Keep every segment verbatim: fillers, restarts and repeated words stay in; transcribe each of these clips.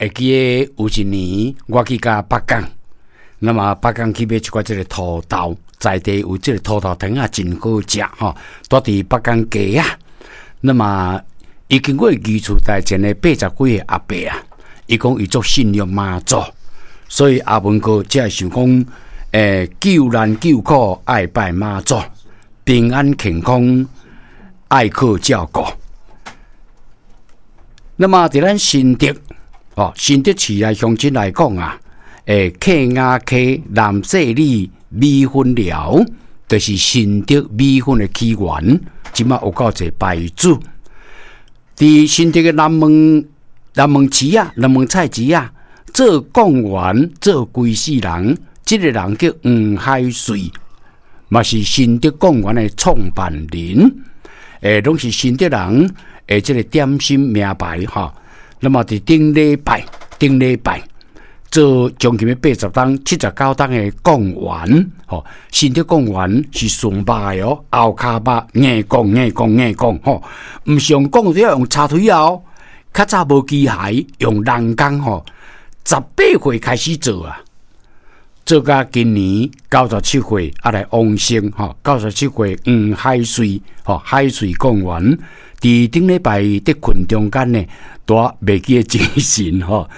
會記得有一年我去共北港，那麼北港去買一寡這个土豆，在地有這个土豆糖仔真好食吼，蹛佇北港街仔。那麼伊經過魚厝台前的八十幾歲阿伯啊，伊講伊足信仰媽祖，所以阿文哥才會想講，欸，救難救苦愛拜媽祖，平安健康愛靠照顧。那麼佇咱新竹，哦，新竹市內鄉親來講啊，欸，客雅溪南勢里米粉寮，就是新竹米粉的起源，這馬有夠濟牌子。佇新竹的南門南門市啊，南門菜市啊，做貢丸做規世人，這个人叫黃海瑞，嘛是新竹貢丸的創辦人，欸，攏是新竹人的這个點心名牌吼。那麼佇頂禮拜，頂禮拜做將近欲八十冬、七十九冬的貢丸，吼，新竹貢丸是純肉的哦，後跤肉硬貢硬貢硬貢吼，毋是用貢要用柴腿哦，較早無機械，用人工吼，十八歲開始做啊，做到今年九十七歲，啊來往生吼，九十七歲黃海瑞吼，海瑞貢丸，佇頂禮拜佇睏中間呢，拄袂記得精神吼。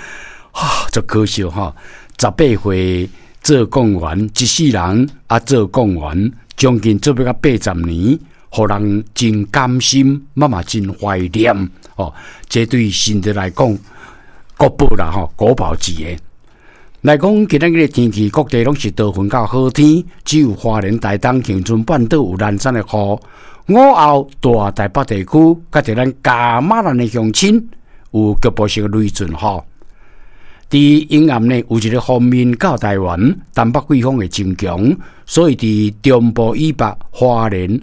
啊，足可惜吼！十八歲做貢丸，一世人啊做貢丸，將近做欲到八十年，予人真甘心，嘛嘛真懷念哦。這對新竹來講，國寶啦吼，國寶級的。來講，今仔日的天氣，各地攏是多雲到好天，只有花蓮、台東、恆春半島有零散的雨。午後，大台北地區，佮著咱嘉馬蘭的鄉親有局部性的雷陣雨。佇陰暗呢，有一个鋒面到台灣，東北季風會增強，所以佇中部以北、花蓮、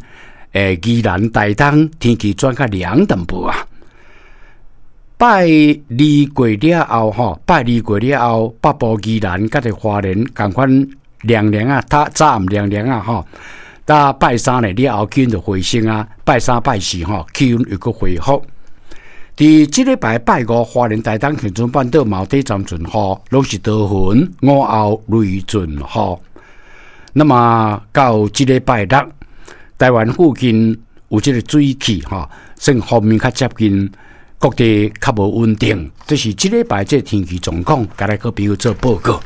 欸、宜蘭、台東天氣轉較涼淡薄啊。拜二過了後，吼，拜二過了後，北部宜蘭佮著花蓮仝款涼涼啊，早早暗涼涼啊，吼。到拜三呢了後，氣溫就回升啊，拜三拜四吼，氣溫又閣恢復。佇這禮拜拜五，花蓮、台東、恆春半島嘛有短暫陣雨，攏是多雲，午後雷陣雨。那麼到這禮拜六，台灣附近有這个水汽吼，算鋒面較接近，各地較無穩定。這是這禮拜這天氣狀況，共咱好朋友做報告。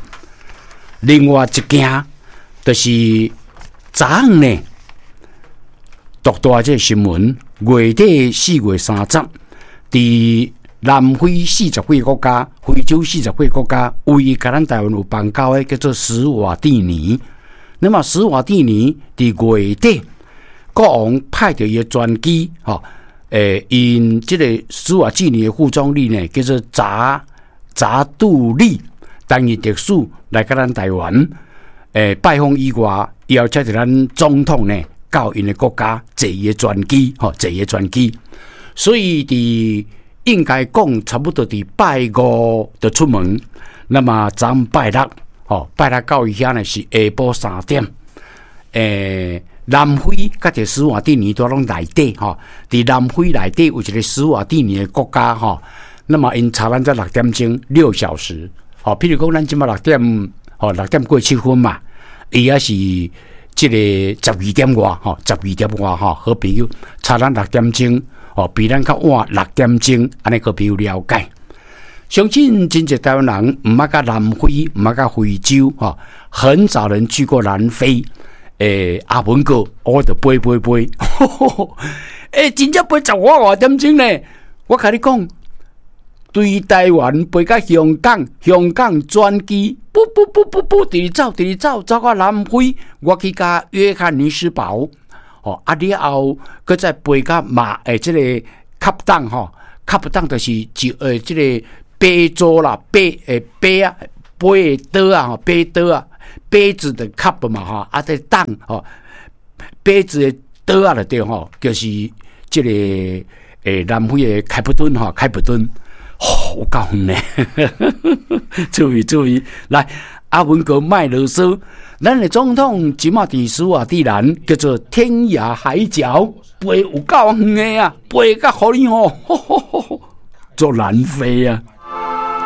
另外一件，就是昨昏呢，獨大這个新聞，月底四月三十。佇南非四十幾个國家，非洲四十幾个國家，唯一佮咱台灣有邦交的叫做史瓦蒂尼。那麼史瓦蒂尼佇月底，國王派著伊的專機，吼，欸，𪜶這个史瓦蒂尼的副總理呢，叫做扎扎杜利，擔任特使來佮咱台灣，欸，拜訪以外，邀請著咱總統呢，到𪜶的國家坐伊的專機，吼，坐伊的專機。所以佇應該講差不多佇拜五就出門，那麼昨昏拜六，吼，拜六到伊遐呢是下晡三點。欸，南非佮著史瓦蒂尼都攏內底，吼，佇南非內底有一个史瓦蒂尼的國家，吼，那麼𪜶差咱才六點鐘，六小時，吼，譬如講咱這馬六點，吼，六點過七分嘛，伊也是這个十二點外，吼，十二點外，吼，好朋友差咱六點鐘。哦，比咱較晚六點鐘，按呢閣比較了解。相信真濟台灣人毋捌佮南非，毋捌佮非洲，吼，很少人去過南非。欸，阿文哥，我就飛飛飛，欸，真正飛十外外點鐘呢。我共你講，對台灣飛到香港，香港轉機，噗噗噗噗噗，直直走，直直走，走到南非，我去佮約翰尼斯堡。哦，啊了後，閣再飛到馬，欸，這个卡當吼，卡當就是就欸，這个杯座啦，杯欸杯啊，杯的桌啊，吼，杯桌啊，杯子的 cup 嘛，吼，啊，這當吼，杯子的桌啊，就對吼，就是這个欸南非的開普敦吼，開普敦，吼，有夠遠呢，注意注意，來，阿文哥莫囉嗦。咱的總統這馬佇史瓦蒂蘭叫做天涯海角，飛有夠遠的啊，飛甲予你吼，做南非啊。